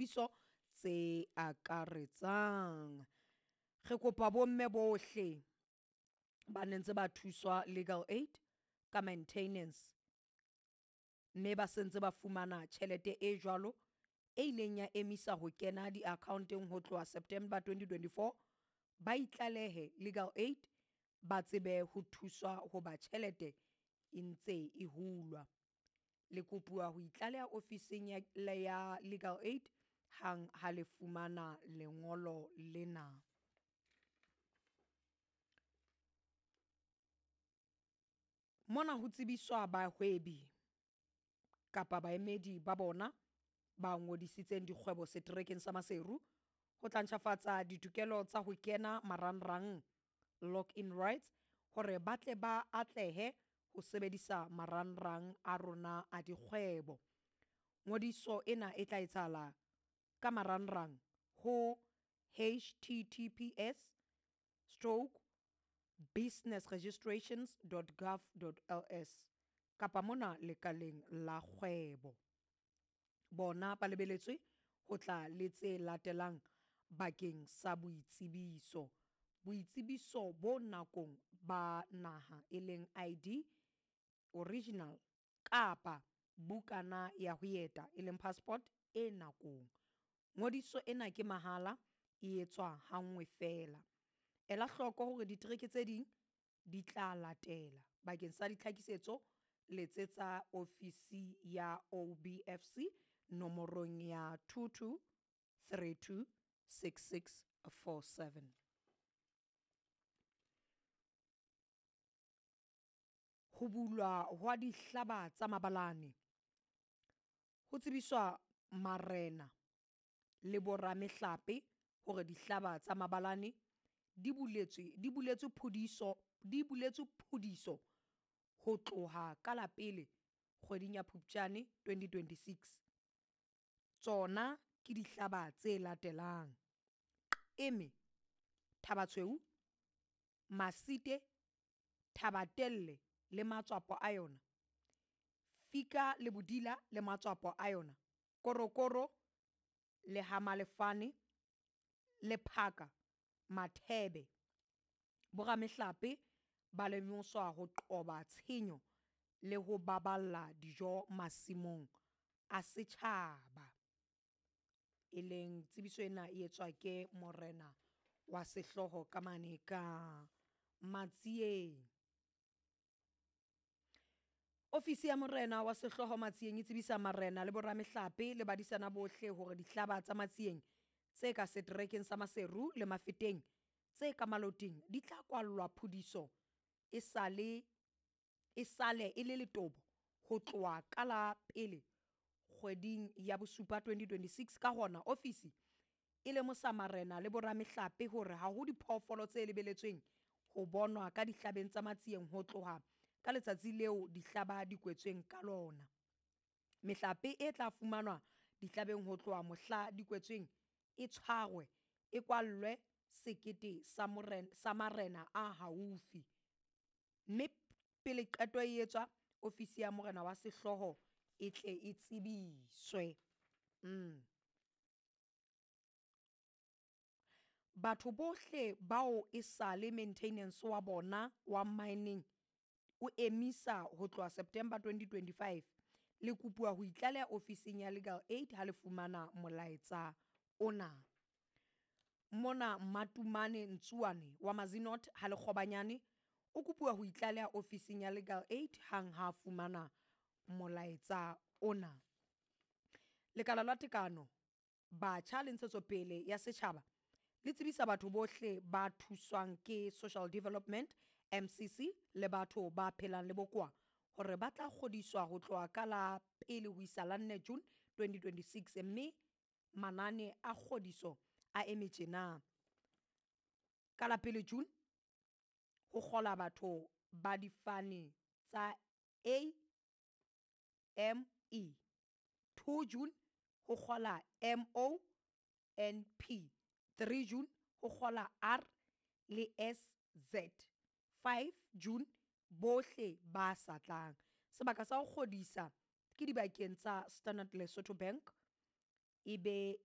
Ditsebiso tse akaretsang. Re kopa bomme bohle ba ne ntse ba thuswa legal aid ka maintenance, mme ba sentse ba fumana tjhelete e jwalo e ileng ya emisa ho kena di-account-eng ho tloha September 2024, ba itlalehe legal aid ba tsebe ho thuswa hoba tjhelete e ntse e hulwa. Le kopuwa ho itlaleha ofising ya legal aid hang ha le fumana lengolo lena. Mona ho tsebiswa bahwebi kapa baemedi ba bona ba ngodisitseng dikgwebo seterekeng sa Maseru ho tla ntjhafatsa ditokelo tsa ho kena marangrang, log-in rights, hore ba tle ba atlehe ho sebedisa marangrang a rona a dikgwebo. Ngodiso ena e tla etsahala ka marangrang ho https stroke businessregistrations dot gov dot ls kapa mona lekaleng la kgwebo. Bona ba lebeletswe ho tla le tse latelang bakeng sa boitsebiso. Boitsebiso bo nakong ba naha e leng ID original kapa bukana ya ho eta e leng passport e nakong. Ngodiso ena ke mahala, e etswa hanngwe feela. Ela hloko hore ditereke tse ding di tla latela. Bakeng sa ditlhakisetso letsetsa ofisi ya OBFC nomorong ya 22 32 66 47. Ho bulwa hwa dihlaba tsa mabalane. Ho tsebiswa marena le boramehlape hore dihlaba tsa mabalane di buletswe di buletswe phudiso di buletswe phudiso ho tloha ka la pele kgweding ya Phupjane 2026. Tsona ke dihlaba tse latelang. Eme, Thabatshweu, Masite, Thabatelle le matswapo a yona, Fika le Bodila le matswapo a yona, Korokoro le ha Malefane, Lephaka, Mathebe. Boramehlape ba lemoswa ho qoba tshenyo le ho baballa dijo masimong a setjhaba. E leng tsebiso ena e etswa ke morena wa sehlooho ka mane ka Matsieng. Ofisi ya morena wa sehlooho Matsieng e tsebisa marena le boramehlape le badisana bohle hore dihlaba tsa Matsieng tse ka seterekeng sa Maseru le Mafeteng tse ka Maloting di tla kwallwa phudiso e sale e sale e le letobo ho tloha ka la pele kgweding ya bosupa 2026. Ka hona ofisi e lemosa marena le boramehlape hore ha ho diphoofolo tse lebeletsweng ho bonwa ka dihlabeng tsa Matsieng ho tloha ka letsatsi leo dihlaba di kwetsweng ka lona. Mehlape e tla fumanwa dihlabeng ho tloha mohla di kwetsweng e tshwarwe e kwallwe sekete sa morena sa marena a haufi, mme pele qeto e etswa ofisi ya morena wa sehlooho e tle e tsebiswe. Batho bohle bao e sale maintenance wa bona wa mining o emisa ho tloha September 2025, le kopuwa ho itlaleha ofising ya legal aid ha le fumana molaetsa ona. Mona Matumane Ntsuane wa Mazinot ha Lekgobanyane o kopuwa ho itlaleha ofising ya legal aid hang ha fumana molaetsa ona. Lekala la Tekano, Batjha le Ntshetsopele ya Setjhaba le tsebisa batho bohle ba thuswang ke Social Development MCC le batho ba phelang le bokowa hore ba tla kgodiswa ho tloha ka la pele ho isa la 4 June 2026, mme manane a kgodiso a eme tjena. Ka la pele June ho kgola batho ba difane tsa A M E, 2 June ho kgola M O N P, 3 June ho kgola R le S Z, 5 June bohle ba sa tlang. Sebaka sa ho kgodisa ke dibakeng tsa Standard Lesotho Bank e be.